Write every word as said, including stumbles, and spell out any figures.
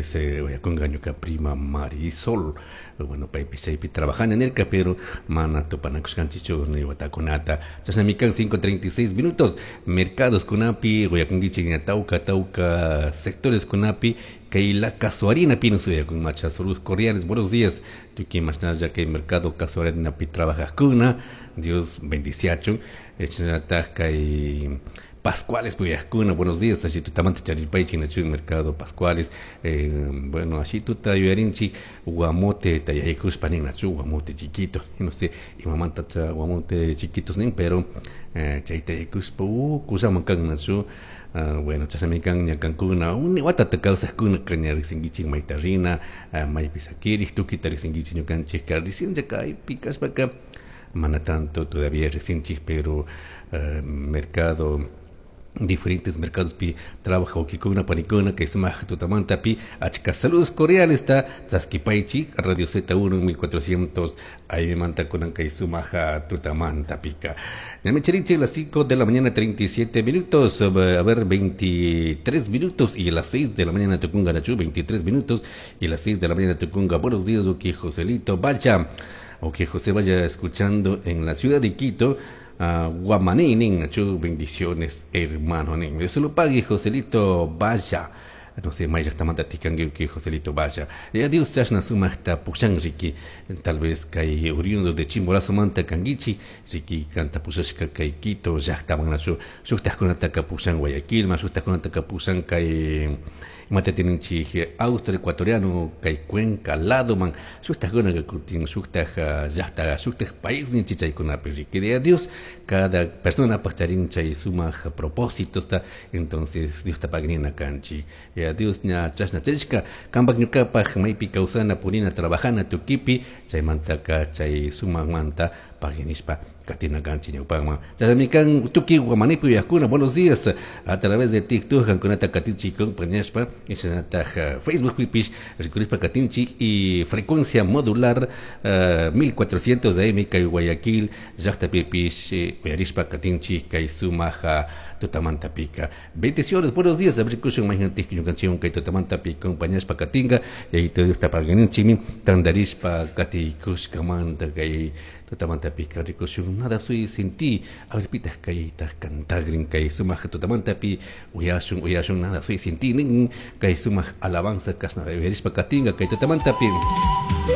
vez uyakunga ñuka prima Marisol, bueno, paypish chaypi trabajana nirka, pero mana tupanakushkanchikchu ni watakunata. Chashnami kan cinco treinta y seis minutos. Mercados kunapi uyakunkichik ña tawka tawka sectores kunapi kay la Casuarina pi nos uyakun macha. Saludos cordiales, buenos días. Tukuy mashnalla kay mercado Casuarina pi trabajajkuna, Dios bendiciachun. Chashnallatak kay Pascuales puyajkuna, buenos días, allí tutamanta charirpaychik nachu mercado Pascuales, eh, bueno, allí tuta yuyarinchik guamote tayaykushpa nin nachu guamote chiquito, no sé, imamanta cha guamote chiquitos nin, pero, eh, chay tayaykushpa, uh, kusaman kan nachu. Ah, bueno, chashnami kan ñakankuna, uni watata kawsajkuna kaña riqsinkichik mayta rina, ah, maypi sakirik, tukuyta riqsinkichik ñukanchik riqsinchik kaypi kashpaka, mana tanto todavía riqsinchik, pero, eh, mercado, diferentes mercados pi trabaja ukikuna panikuna que sumaj tutamanta pi achka saludos cordiales ta chaskipaychik Radio Z uno mil cuatrocientos ahí me manta kunan kay sumaja tutamanta pika. Ñami charinchik las cinco de la mañana treinta y siete minutos, a ver, veintitrés minutos y a las seis de la mañana tukunga nachu, veintitrés minutos y a las seis de la mañana tukunga. Buenos días, uki Joselito vaya, uki José vaya escuchando en la ciudad de Quito. Ah, Guamaní, nin, nachu, bendiciones, hermano, nin. Dios lo pague, Joselito, vaya. No sé, maya está manda ticangue que Joselito vaya. Ya Dios chasna sumachta pushan riki. Tal vez kay oriundo de Chimborazo manta kangichi, riki canta pushashka kay Quito, llaqta manachu, shuqtaqkunata kapushan Guayaquil, ma shuqtaqkunata kapushan kay imata tininchi Austria ecuatoriano kay Cuenca lado man, shuqtaqkuna kutin shuqtaq llaqta, shuqtaq país ninchi chaykunapi riki. De Dios, cada persona pacharin chay sumaj propósitos ta, entonces Dios ta pagrina kanchi. Ya Dios ña chashna charishka kampak ñukapaj maypi kawsana purina trabajana tukipi chaymantaka chay sumajmanta paginishpa katina kanchi ñawpakman. Chashnami kan tuki guamanipi uyajkuna, buenos días a través de TikTok kankunata katinchi compañashpa chashnataj Facebook pipish rikurishpa katinchi y frecuencia modular, eh, mil cuatrocientos A M kay Guayaquil llaqta pipish, eh, uyarishpa katinchi kay sumaja tutamanta pika. Bendiciones, buenos días, abrikushun mañantik ñukanchiwan kay tutamanta pi compañashpa katinga y ahí te está paganinchimi tandarishpa katikushkamanta kay tutamanta pika rikushun nada soy sin ti, a ver pitas kay tas cantagrin kay sumaj tutamanta pi uyashun uyashun nada soy sin ti nin kay sumaj alabanza kasna beberishpa katinga kay tutamanta pi.